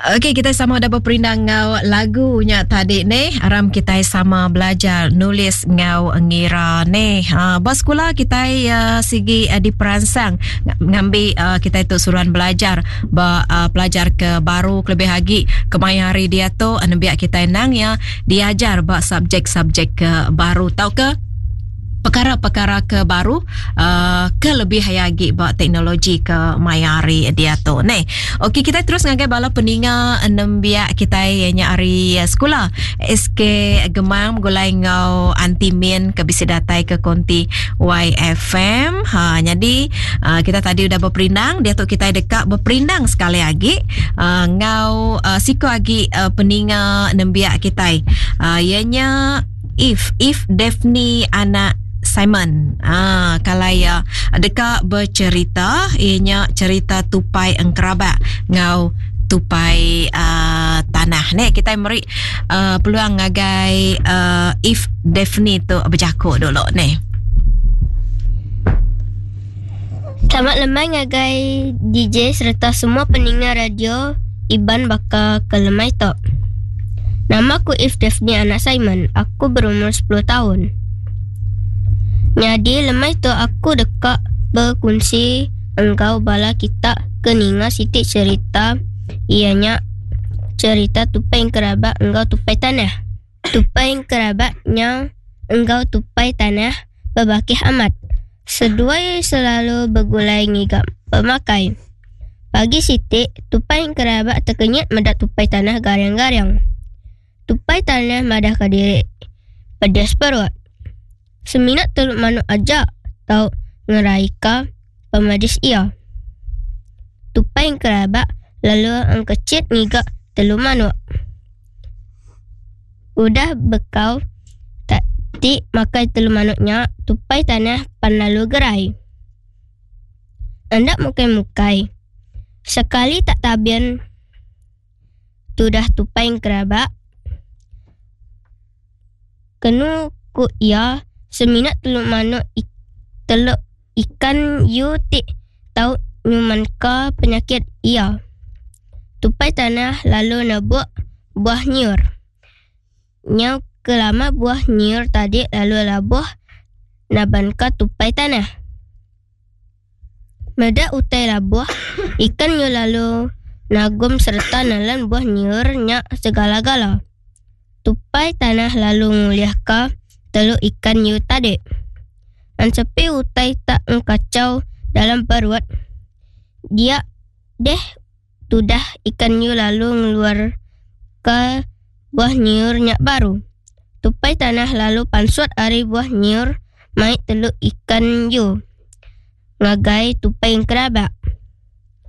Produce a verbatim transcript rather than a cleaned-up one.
Okey, kita sama dah beperindang ngau lagu nya tadi ni. Aram kita sama belajar nulis ngau ngira ni. Ha, ba sekolah kita uh, sigi uh, diperansang ngambi uh, kita itu suruhan belajar ba uh, pelajar ke baru lebih lagi kemaya hari dia tu nembiak kita nang ya diajar ba subjek-subjek ke baru tau ke perkara-perkara ke baru uh, ke lebih lagi ba teknologi ke maya hari dia tu ni. Okey, kita terus ngagai bala peninga nembiak kita ianya hari sekolah S K Gemang gulai ngau Anti Min ke bisi datai ke konti Y F M. Ha, jadi uh, kita tadi udah berperindang, dia tu kita dekat berperindang sekali lagi uh, ngau uh, siko lagi uh, peninga nembiak kita. Uh, ianya If If Daphne anak Simon. Ah, kalau ya dekat bercerita ianya cerita tupai engkerabak ngau tupai uh, tanah ni. Kita meri uh, peluang ngagai uh, If Daphne tu berjakuk dulu ni. Selamat lemai ngagai D J serta semua pendengar radio Iban baka ke lemai tok. Nama aku If Daphne anak Simon. Aku berumur sepuluh tahun. Jadi lemai tu aku dekat berkongsi engkau bala kita keninga sitik cerita ianya cerita tupai kerabat engkau tupai tanah. Tupai kerabatnya engkau tupai tanah berbakih amat. Seduai selalu bergulai ngigap pemakai. Pagi sitik tupai kerabat terkenyit medak tupai tanah garing-garing. Tupai tanah madah ke diri pedas perut. Seminat teluk manuk ajak tau ngeraika pemadis ia. Tupai kerabat lalu angkecit ngigak teluk manuk. Udah bekau tak ti makai teluk manuknya, tupai tanah pan lalu gerai. Andak mukai-mukai. Sekali tak tabian tudah tupai kerabat. Kenu ku ia seminat teluk manuk ik-, teluk ikan yu tik tau nyuman ka penyakit ia. Tupai tanah lalu nebuk buah nyiur. Nyau kelama buah nyiur tadi lalu labuh naban ka tupai tanah. Medak utai labuh ikan yu lalu nagum serta nalan buah nyiur nyak segala-gala. Tupai tanah lalu nguliah ka teluk ikan yu tadi. Ansepi utai tak engkacau dalam perut. Dia deh tudah ikan yu lalu ngeluar ke buah nyiur nyak baru. Tupai tanah lalu pansut ari buah nyiur mai teluk ikan yu. Ngagai tupai kerabat.